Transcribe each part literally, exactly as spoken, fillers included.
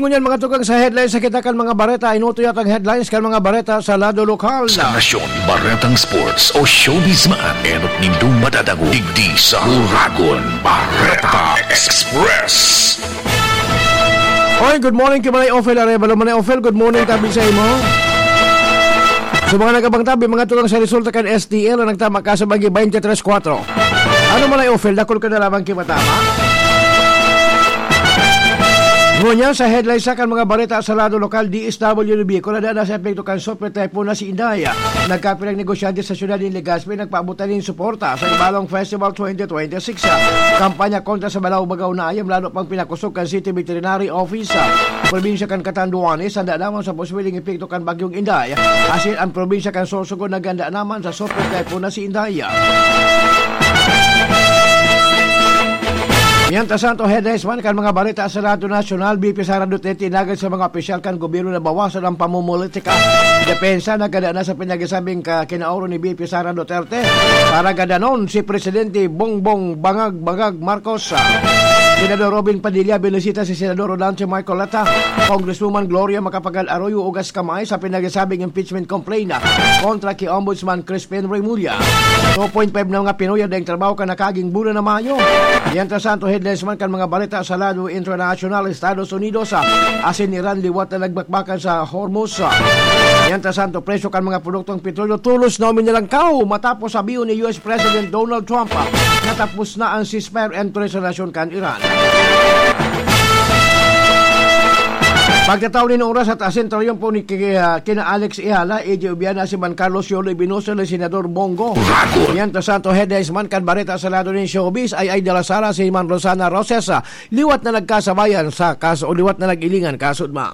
Ngunyan, mga tugang, sa headlines sa kita kan mga bareta, inuto yatang headlines kan mga bareta sa lado lokal. Sa nasyon, baretang sports o showbiz man, enot nindong madadangog digdi sa Uragon Bareta Express. Oy, good morning kay Manay Ofel Arevalo. Manay Ofel, good morning, tabi sa imo. Sa mga nagabang tabi, mga tugang, sa resulta kan S T L na nagtama ka sa bagi twenty-three four. Ano, Manay Ofel, dakul ka na lamang kimatama? Ngunyan, sa headlines sa kan mga bareta sa lado lokal, D S W D Bicol, nadana sa epekto kan Super Typhoon na si Inday. Nagkapirang negosyante sa siyudad nin Legazpi nagpaabotan nin suporta sa Ibalong Festival twenty twenty-six. Kampanya kontra sa balaw-bagaw na ayam lalo pang pinakosog kan City Veterinary Office. Probinsya kan Catanduanes, handa lamang sa posibleng epekto kan Bagyong Inday. Asin an probinsya kan Sorsogon naghanda naman sa Super Typhoon na si Inday. Mientras tanto, headlines man kan mga bareta sa Radyo Nasyonal, B P Sara Duterte inagad sa mga opisyal kan gobyerno na bawasan ang pamumulitika. Depensa, nagkada na sa pinagsasabing ka-, kinaoro ni B P Sara Duterte para gadanon si Presidente Bongbong Bangag-Bangag Marcos. Senador Robin Padilla binisita si Senador Rodante Marcoleta, Congresswoman Gloria Macapagal Arroyo ugas kamay sa pinagsasabing impeachment complaint kontra ki Ombudsman Crispin Remulla. Two point five na mga Pinoy ang daing trabaho kan nakaging bulan na Mayo. Mientras tanto, headlines man kan mga bareta sa lado internasyonal, Estados Unidos, ah, asin Iran liwat na nagbakbakan sa Hormuz. Mientras tanto, presyo kan mga produktong petrolyo tulos na uminalangkaw matapos sabihon ni U S President Donald Trump, ah, natapos na ang ceasefire entry sa nasyon kan Iran. Pagkataon nin oras at asin, triyumpo ni ki-, ah, kina Alex Ehala, A J Obiana, si Man Carlos Yolo Ibinosa, ni Senador Bongo. Ragon. Mientras tanto, headlines man kan bareta sa lado nin showbiz, ay, ay, de la Sala, si Man Rosana Roses, ah, liwat na nagkasabayan sa kaso, o liwat na nag-ilingan kaso, ma.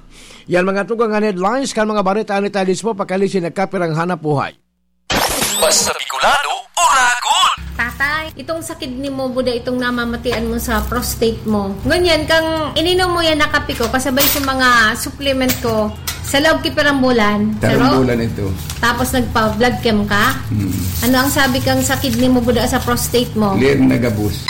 Yan mga tugang an headlines kan mga bareta ni Talismo, pakali si nagkapirang hanap buhay. Basta Bicolano, Uragon! Tatay, itong sa kidney mo, buda itong namamatian mo sa prostate mo. Ngunyan, kang ininom mo yan na kape ko, kasabay sa mga supplement ko, sa loob ki pirang bulan. Tarong Pero, bulan ito. Tapos nagpa-blood chem ka? Hmm. Ano ang sabi kang sa kidney mo, buda sa prostate mo? Clear na gabos.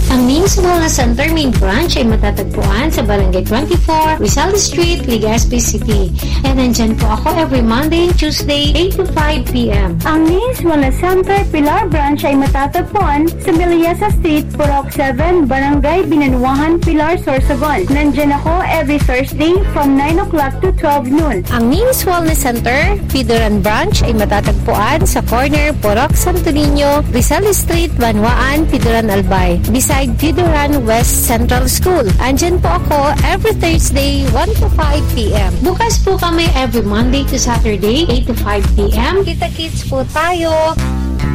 Ang Ming's Wellness Center main branch ay matatagpuan sa Barangay twenty-four, Rizal Street, Legazpi City. And nandyan po ako every Monday and Tuesday, eight to five p m. Ang Ming's Wellness Center Pilar Branch ay matatagpuan sa Meliasa Street, Purok seven, Barangay Binanuahan, Pilar, Sorsogon. Nandyan ako every Thursday from nine o'clock to twelve noon. Ang Ming's Wellness Center, Pidoran Branch, ay matatagpuan sa corner Purok Santo Niño, Rizal Street, Banwaan, Pidoran, Albay, beside Pidoran West Central School. Andyan po ako every Thursday, one to five p m. Bukas po kami every Monday to Saturday, eight to five p m. Kita-kits po tayo.